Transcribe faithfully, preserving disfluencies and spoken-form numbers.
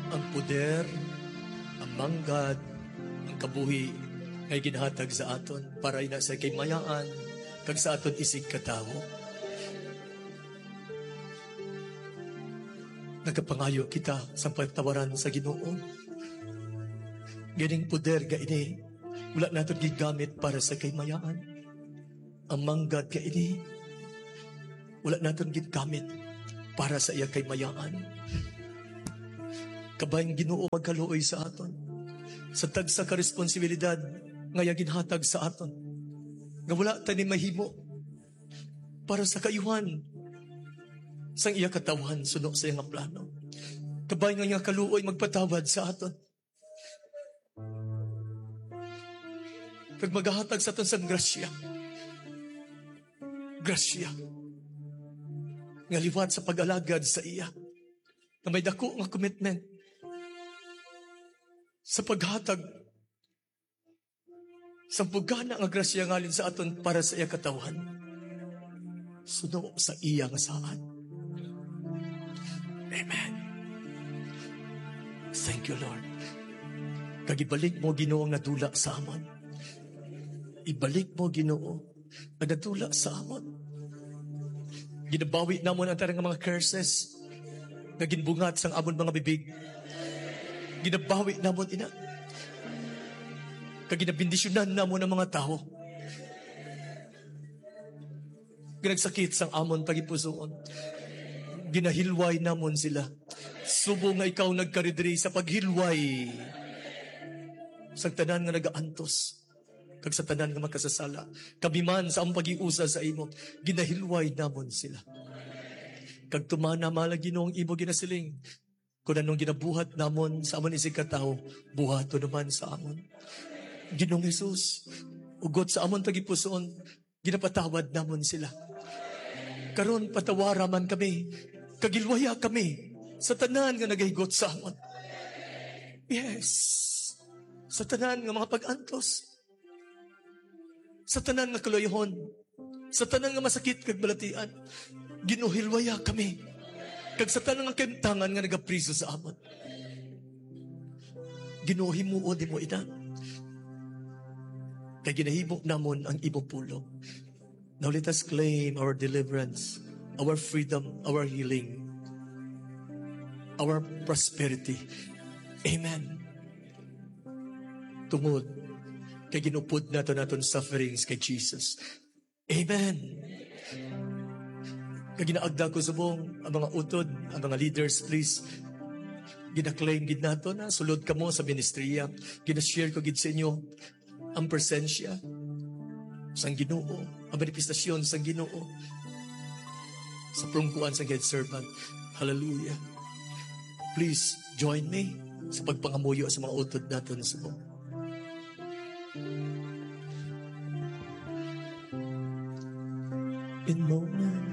Ang poder, ang manggad, ang kabuhi nga ginhatag sa aton para ina sa kaymayaan kag sa aton isigkatawo. Nagapangayo kita sa pagtawaran sa Ginoo. Gining poder nga ini, wala naton gigamit para sa kaymayaan. Ang manggad nga ini, wala naton gigamit para sa iya kaymayaan. Kabay ang Ginoo magkaluoy sa aton sa tagsa ka responsibilidad nga iya ginhatag sa aton, nga wala ta ni mahimo para sa kaayuhan sang iya katawhan suno sa iya nga plano. Kabay nga iya kaluoy magpatawad sa aton kag magahatag sa aton sang grasya. Grasya nga liwat sa pag-alagad sa iya, nga may dako nga commitment sa paghatag sa bugana nga grasya ngalin sa aton para sa iya katawhan, suno sa iya nga saad. Amen. Thank you, Lord. Kag ibalik mo, Ginoo, nga dula sa amon. Ibalik mo, Ginoo, nga nadula sa amon. Ginabawi namon ang tanan nga mga curses nga ginbungat sang amon mga bibig. Ginabawi namon ina. Kag ginabendisyonan namon ang mga tawo nga nagsakit sang amon tagipusoon. Ginahilway namon sila. Subong nga ikaw nagkari diri sa paghilway sang tanan nga nagaantos kag sa tanan nga makasasala, kami man sa among paghiusa sa imo, ginahilway namon sila. Kag tumana, mahal nga Ginoo, ang imo ginasiling, "Kon anong ginabuhat namon sa amon isigkatawo, buhaton naman sa amon." Ginoong Jesus, ugot sa amon tagipusoon, ginapatawad namon sila. Karon, patawara man kami, kag hilwaya kami sa tanan nga nagahigot sa amon. Yes, sa tanan nga mga pag-antos, sa tanan nga kaluyohon, sa tanan nga masakit kag balatian, Ginoo, hilwaya kami, kag sa tanan nga kahimtangan nga nagapriso sa amon. Ginoo, himuon nimo ina, kay ginahimo namon ang imong pulong. Now let us claim our deliverance, our freedom, our healing, our prosperity. Amen. Tungod kay ginupod nato naton sufferings kay Jesus. Amen. Kag ginaagda ko subong ang mga utod, ang mga leaders, please. Gina-claim gid nato na sulod kamo sa ministriya. Gina-share ko gid sa inyo ang presensya sang Ginoo, ang manifestasyon sang Ginoo sa pulongkuan sang head servant. Hallelujah. Please join me sa pagpangamuyo sa mga utod naton subong. In moments